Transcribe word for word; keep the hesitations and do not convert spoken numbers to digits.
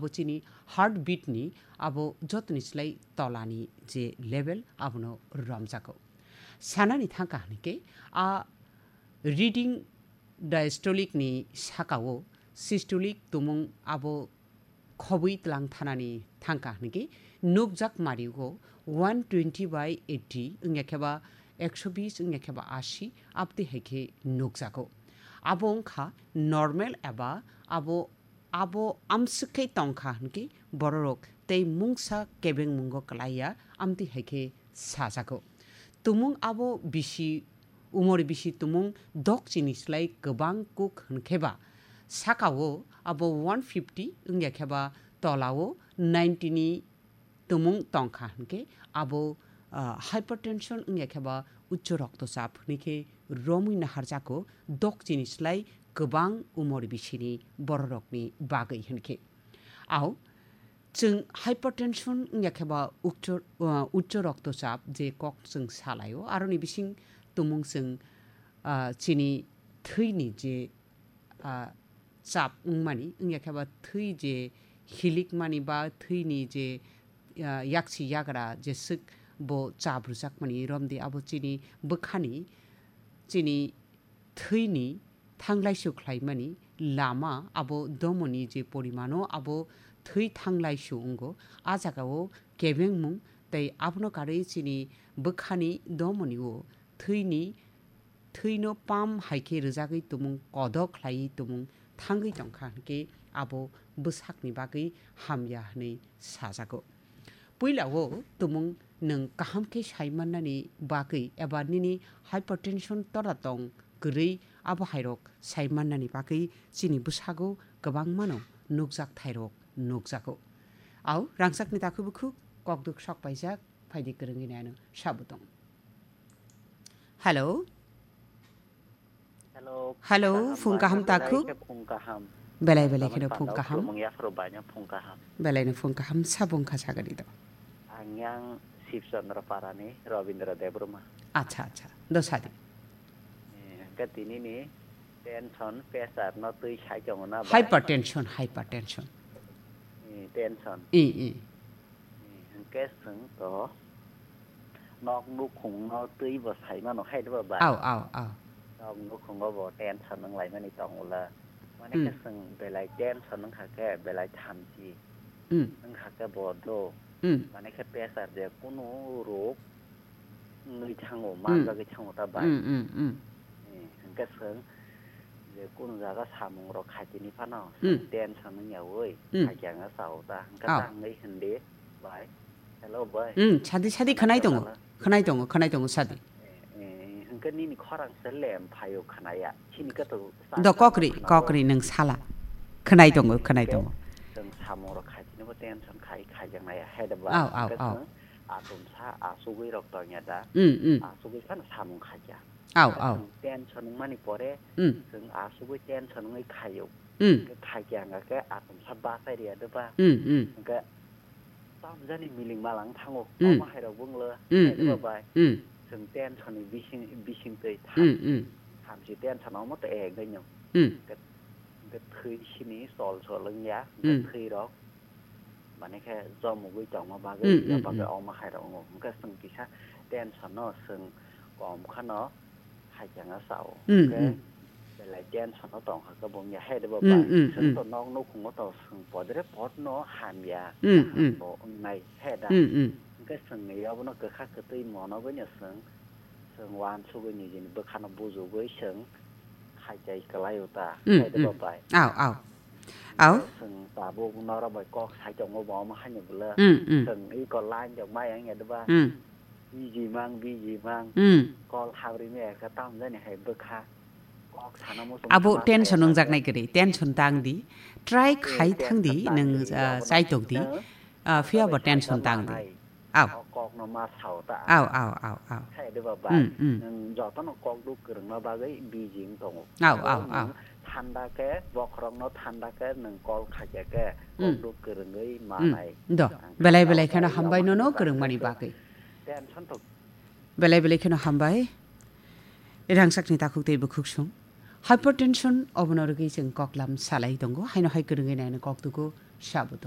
Bo chini heartbeat ni abo jotoni slai tolani je level abono romjago. Sanani thangkha hwnkhe a reading diastolic ni sakao systolic tumung abo khobwi tlang thanani thangkha hwnkhe nukjak mario one twenty by eighty wngya khe ba ekso bis wngya khe ba asi abtwi hai khe nukjago. Abo wngkha normal eba abo, abo amswk khe tongkha hwnkhe bororok tei mungsa kebengmungo kwlaiya amtwi hai khe sajago. Tumung abo bisi, umor bisi tumung dok chini slai kwbang kuk hwnkhe ba sakao abo one fifty wngya khe ba tolao ninety ni tumung tongkha hwnkhe abo, ah, hypertension wngya khe ba uccho roktochap hwnwi khe romwi naharjago dok chini slai kwbang umor bisini bororokni bagwi hwnkhe. Au, chwng hypertension wngya khe ba uccho, ah, uccho roktochap je kok chwng salaio, aroni bising tumung chwng, ah, chini thwini je ah, chap wngmani, wngya khe ba thwi je hilikmani ba thwini je, ah, yaksi yagra je swk bo chap rwjakmani romdi abo chini bwkhani, chini thwini thanglaisu khlaimani lama abo domoni je porimano abo thwi thanglaisu wngo. A jagao kebengmung tei abono karwi chini bwkhani domonio thwini thwino pam hai khe rwjagwi tumung kodok khlaiwi tumung thangwi tongkha hwnkhe abo bwsakni bagwi hamya hwnwi sajago. Puilao tumung nwng kaham khe sai mannani bagwi eba nini hypertension tora tong kwrwi abo hairok sai mannani bagwi chini bwsago kwbangmano nukjak thairok nukjago. Au rangchakni takhuk bukhuk kokduk sok paijak phaidi kwrwngwi nai ano sabo tong. Hello. Hello, Hello, phung kaham phung kaham belai takhuk. Khe phung kaham. Belai belai kheno phung kaham. Belai no phung kaham sabung kha sagani do. Ang yang Sibchandra Parani Robindra Debbarma. Acha, acha. Do sadi. Eh, hwnkhe tini ni tension, pressure no twi sai tongo na ba? Hypertension, hypertension. Eh, tension. I, i. Eh, hwnkhe chwng to nok nukhung no twi bo sai mano hai ba ba? Au, au, au. Nok nukhungo bo tension wng lai mani tong ula. Mane khe Hmm. chwng belai tension wng kha khe belai thamchi. Hmm. Wng kha khe bo do. Hmm. Mane khe pressure je kunu rok wngwi thango, Hmm. manjagwi thango ta bai. Hmm, hmm, hmm. Eh, hwnkhe chwng je kunu jaga samung rok khaitini phano Hmm. tension wngya ui Hmm. khaikhe ang sao ta. Hwnkhe Oh. tangwi hindi bai. Hello bai. Hmm, sadi, sadi khwnai tongo. Khwnai tongo, khwnai tongo, sadi. Eh, eh, hwnkhe nini khorang se lem phaio khwnaya. Chini khe to Do kokri, kokri nwng sala. Khwnai tongo, khwnai tongo. Chwng samung rok khaitini bo tension khai, khaijaknaya. Hai da ba. Au, au, hwnkhe au. Chwng atumsa asugwi rok tongya da. Mm, mm. Asugwi phano samung khaikha. Au, au. Chwng tension wngmani pore, Mm. chwng asugwi tension wngwi khaio. Mm. Khe khaikhe ang khe atumsa bachai rwya de ba. Mm, mm. Hwnkhe tamjani miling malang thango. Mm. Omo hai rok bunglo. Mm, Hai de ba mm. bai. Mm. Chwng tension ni bising, bising twi tham. Mm, mm. Thamchi tension omo to ek dai no. Mm. Hwnkhe, hwnkhe thwi sini sol sol wngya. Hwnkhe Mm. thwi rok. Mane khe jomogwi tongma bagwi, Mm, mm, bagwi mm. Omo hai rok wngo. Hwnkhe chwng kisa tension no chwng kom khano hai changa sao. Mm, Hwnkhe mm. belai tension no tong kha khe bung ya hai de bo Mm, ba. mm, Chwng mm. to nok nukhungo to chwng podre pod no hamya. Mm, mm. Bo wngnai hai da. Mm, mm. Hwnkhe chwng ni obono kwkha kwtwi monogwi no chwng, chwng uansugwi nijini bwkhano bujugwi chwng khaichai kwlaio ta. Mm, Hai de bo mm. bai. Ao, ao. Ao. Chwng tabuk norok bai kok sai tongo bo omo haino bwle. Mm, mm. Chwng iko line rok mai wngya diba? Mm. Biji mang, biji mang. Mm. Kol habri me ka tam jani hai bwkha. Kok sana muchung Abo sama tension saya wngjaknai kwrwi, tension tang di. Try Eh, khai thang di, tension tang nwng, di, ah, abo chaitok di. Nwng Ah, phiya bo bai tension saijak tang di. Manai. Ao. O kok no ma sao ta. Ao, ao, ao, ao. Khe de ba bai. Mm, mm. Nwng joto no kok duk kwrwng no bagwi bijing tongo. Ao, ao, ao. Nwng thanda khe, bokhorok no thanda khe, nwng kol khaikya khe, kok Mm. duk kwrwngwi Mm. manai. Do. Ang Belai kha belai sao kheno ta hambai yama nono hai kwrwng mani bagwi. Tension to. Belai belai kheno hambai. Rangchakni takhuk tei bukhuk sung. Hypertension obono rwgwi chwng koklam salai tongo. Haino hai kwrwngwi naino kok dugo sabo tongo.